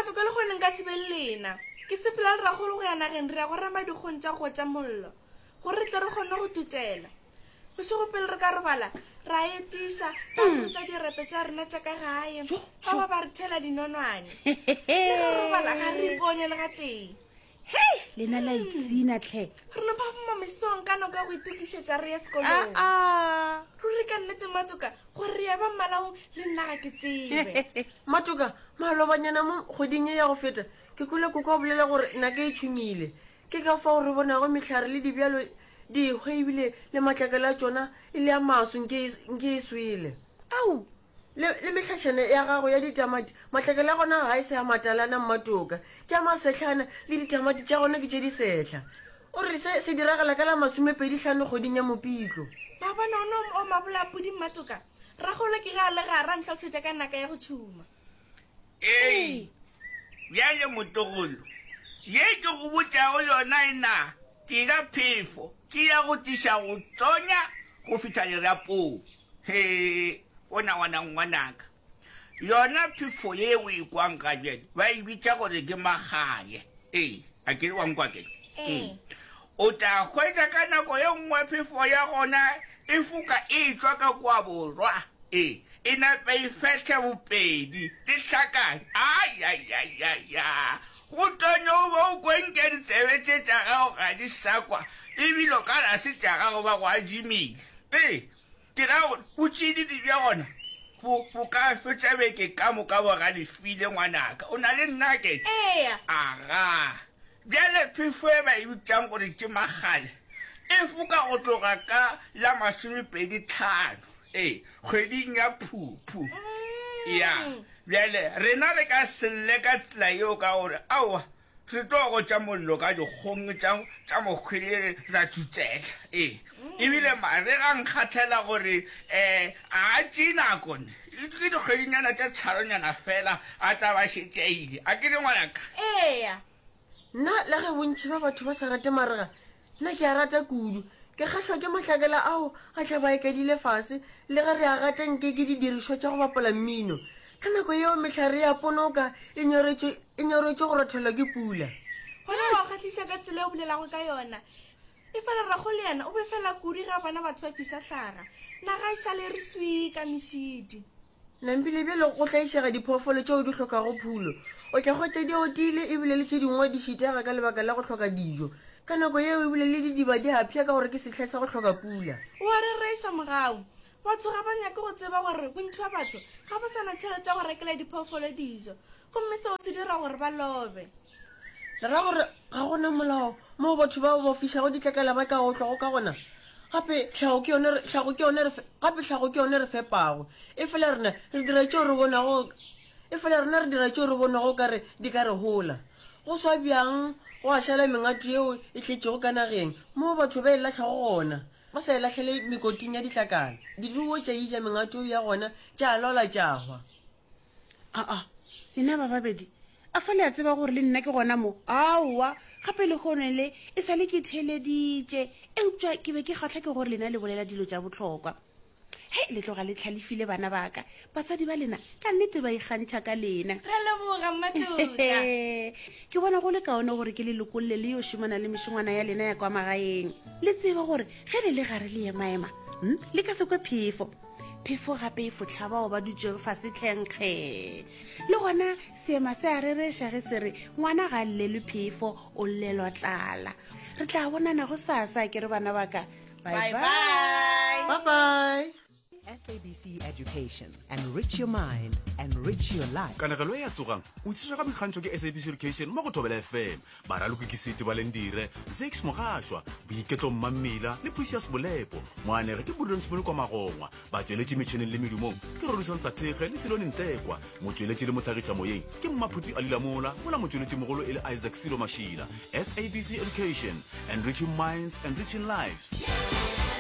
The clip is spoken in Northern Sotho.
Mmatsoka le gone nka se be le lena. Ke sepela le ragolo go ya nageng re ya go rema dikgong tša go tša mollo gore re tle re kgone go tutela. Bošego pele re ka robala ra etiša ra rutsa direto tša rena tša ka gae ba ba ba re thela dinonwane. Le ge re robala ga re ipone le gatee. Hei, lena la ipshina tlhe. Re no phaphama mesong ka nako ya go itokišetša re ye sekolong. Aa. Ruri ka nnete Mmatsoka gore re ya ba mmalaong le nna ga ke tsebe. Mmatsoka, malobanyana mo kgweding ye ya go feta ke kwele koko a bolela gore naka e tšhumile. Ke ka fao re bonago mehlare le dibjalo di ehwa ebile le matlakala a tšona e le a maso nke e swele. Ao! Le, le mehlašana ya gago ya ditamati, matlakala a gona ga e se a matalana mmatoka, ke a masehlana, le ditamati tša gona ke tše disehla. O re se se diragala ka la masomepedi hlano kgweding ya Mopitlo. Maabane ona o mabolapudi mmatoka, ragolo ke ge a le gare a ntlhalosetša ka naka ya go tšhuma. Ee, bjale motlogolo, ye ke go botšago yona e na ke ya phefo, ke ya go tliša go tonya go fihla lerapong. He, bona ngwana ngwanaka, yona phefo ye o e kwang ga bjale ba e bitša gore ke magaye. Ee, a ke re wa nkwa ke? Ee. O tla hwetša ka nako ye nngwe phefo ya gona e foka e tšwa ka kua borwa. Ee, e nape e fehle bopedi, di hlakane. Ai-ai-ai-ai-a! Go tonye o be o kwe nke ditsebe tše tša gago ga di sa kwa, ebile o ka re ga se tša gago ba go adimile. Ee, ke ra gore botšididi bja gona bo, bo ka fetša beke ka moka bo galefile, ngwanaka. O na le nna ke? Eya. Aga. Bjale phefo e ba e bitšang gore ke magale e foka go tloga ka la masomepedi tlhano, ee, kgweding ya Phuphu. Ya. Bjale rena re ka se lle ka tsela yeo ka gore, aowa, Re tlo gotša mollo ka dikgong tša, tša mokgwele ra tšutsela. Ee, ebile mare ga nkgahlela gore um a tšee nako ne. Ke dikgwedinyana tše tharonyana fela a tla ba šetše a ile. A ke re ngwanaka? Eya. Nna le ge bontši ba batho ba sa rate marega, Nna ke a rata kudu. Ke kgahlwa ke matlakala ao a tla ba ekedile fase le ge re a gata nke ke didirišwa tša go bapala mmino. Ka nako yeo mehlare ya ponoka e nyoretšwe e nyoretšwe go rothelwa ke pula. Gona wa kgahliša ka tsela e o bolelago ka yona. Efela rrago le yena o befela kudu ge a bona batho ba fiša hlaga. Naga e šale e re swii ka mešidi. Nampile bjale go tlaišega diphoofolo tšeo di hlokago phulo. O tla hwetša di otile ebile le tše dingwe di šitega ka lebaka la go hloka dijo. Ka nako yeo ebile le didiba di a pšha ka gore ke sehla sa go hloka pula. O a rereša, Mogau. Batho ga ba nyake go tseba gore bontši bja batho ga ba sa na tšhelete ya go rekela diphoofolo dijo, gomme seo se dira gore ba lobe. Le ra gore ga go na molao moo batho bao ba fišago ditlakala ba ka otlwago ka gona? Gape tlhago ke yone, tlhago ke yone re, gape tlhago ke yone re fepago. Efela rena re dira tšeo re bonago, efela rena re dira tšeo re bonago o ka re di ka re hola. Go swa bjang gwa šala mengato yeo e tletšego ka nageng, moo batho ba e lahlago gona, ba sa e lahlele mekoting ya ditlakala. Diruo tša ija mengato ya gona, tša lwala tša hwa. Aa, lena ba babedi, a fa le a tseba gore le nna ke gona mo? Aowa, gape lehono le e sa le ke theeleditše, eupša ke be ke kgahlwa ke gore lena le bolela dilo tša bohlokwa. Hei, le tloga le hlalefile bana ba ka. Batswadi ba lena ka nnete ba ikgantšha ka lena. Re a leboga, Mmatota. Ke bona go le kaone gore ke le lokolle le yo šomana le mešongwana ya lena ya kwa magaeng. Le tsebe gore ge le le gare le emaema, hm, le ka se kwe phefo. Phefo gape e fohla bao ba dutšego fase tlhenkge. Le gona seema se a rereša ge se re, Ngwana ga a llelwe phefo, o llelwa tlala. Re tla bonana gosasa, ke re bana ba ka. Bye bye. Bye bye. SABC Education. Enrich your mind, enrich your life. Kanegelo e ya Tsogang o tlišwa ka boikgantšho ke SABC Education mo go Thobela FM. Baraloki ke Seti Balendire, Zakes Mogašwa, Boiketlo Mmammila le Precious Bolepo. Moanegi ke Prudence Molokwa Magongwa. Batšweletši metšhineng le medumong ke Rorisang Sathekge le Silone Ntekwa. Motšweletši le mohlagišamoyeng ke Mmaphuti Ali Lamola, mola motšweletšimogolo e le Isaac Silo Mashila. SABC Education, enriching minds, enriching lives.